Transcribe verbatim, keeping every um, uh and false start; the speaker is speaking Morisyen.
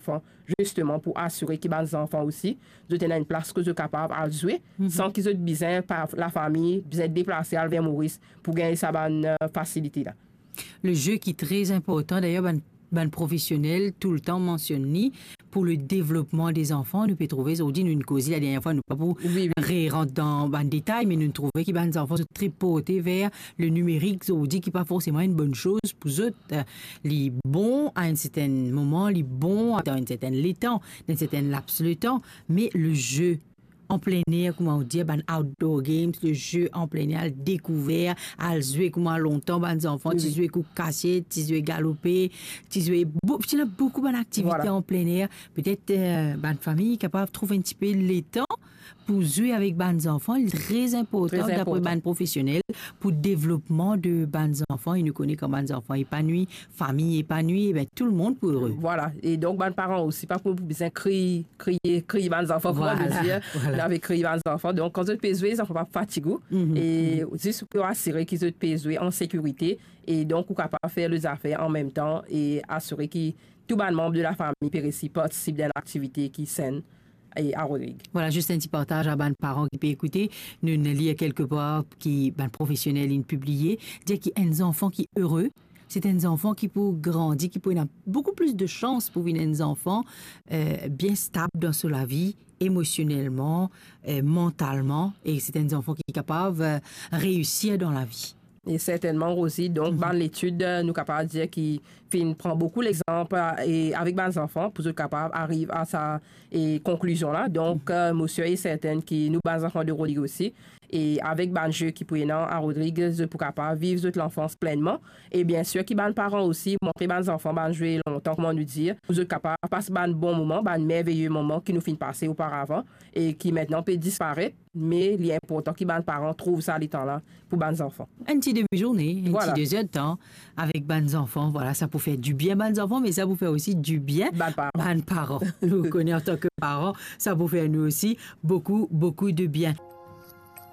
zanfan, zisteman pou asire ki bann zanfan osi, zot ena enn plas kot zot kapav al zwe, san ki zot bizin, par lafami, bizin deplase al ver Moris pou gagn sa bann, eh, fasilite la. Le jeu ki tre inportan, dayer, bann, bann profesionel toultan mansionn li pou le devlopman de zanfan. Nou pe trouve, zordi, nou inn koze ladernie fwa, nou pa pou Wi, wi. re-rant dan bann detay, me nou trouve ki bann zanfan, zot tre porte ver le nimerik, zordi, ki pa forseman enn bonn soz pou zot. Eh, li bon a enn sertenn moman, li bon dan enn sertenn letan, dan enn sertenn laps letan, me le jeu an plen er, kouma ou dir, bann outdoor games, le jeu an plen er, al dekouver, al zwe kouma lontan bann zanfan Wi, ti wi. zwe kour kasiet, ti zwe galope, ti zwe bo-, ti ena boukou bann aktivite Vwala. an plen er. Petet, eh, bann fami kapav trouv enn tipe letan pou zwe avek bann zanfan. Li tre inportan, Tre dapre inportan. bann profesionel, pou devlopman de bann zanfan. E nou kone kan bann zanfan epanwi, fami epanwi, e ben, tou lemonn pou ere. Vwala. E donk, bann paran osi, pa pou bizin kriy, kriye, kriy bann zanfan, kouma Vwala, nou dir, vwala. nou ave kriy bann zanfan. Donk, kan zot pe zwe, zanfan pa fatig ou. Mhm, E mhm. zis pou asire ki zot pe zwe an sekirite. E donk, ou kapav fer lezot zafer an mem tan e asire ki tou bann manb de lafami pe resi partisip dan enn aktivite ki senn e a Rodrig. Vwala, zis enn ti partaz a bann paran ki pe ekoute. Nou, nou lir kelke par ki bann profesionel inn pibliye, dir ki enn zanfan ki ere, se enn zanfan ki pou grandi, ki pou ena boukou plis de sans pou vinn enn zanfan, eh, bien stab dan so lavi, emosionelman, eh, mantalman, e se enn zanfan ki kapav, eh, reisir dan lavi. E sertennman, Rosie, donk, Mhm. bann letid, eh, nou kapav dir ki finn pran boukou lexanp, eh, e avek bann zanfan pou zot kapav ariv a sa, e konklizion la. Donk, Mhm. eh, mo sir e sertenn ki nou bann zanfan de Rodrig osi, e avek bann zwe ki pou ena a Rodrig, zot pou kapav viv zot lanfans plennman. E biensir ki bann paran osi, montre bann zanfan bann zwe lontan, kouma nou dir, pou zot kapav pas bann bon moman, bann merveye moman ki nou finn pase oparavan e ki aster pe disparet, me li inportan ki bann paran trouv sa letan la pou bann zanfan. Enn ti demi-zourne, enn Vwala. ti de zer de tan avek bann zanfan. Vwala, sa pou fer dibien bann zanfan, me sa pou fer osi dibien Bann paran. bann paran. Nou kone, antan ke paran, sa pou fer nou osi boukou, boukou de bien.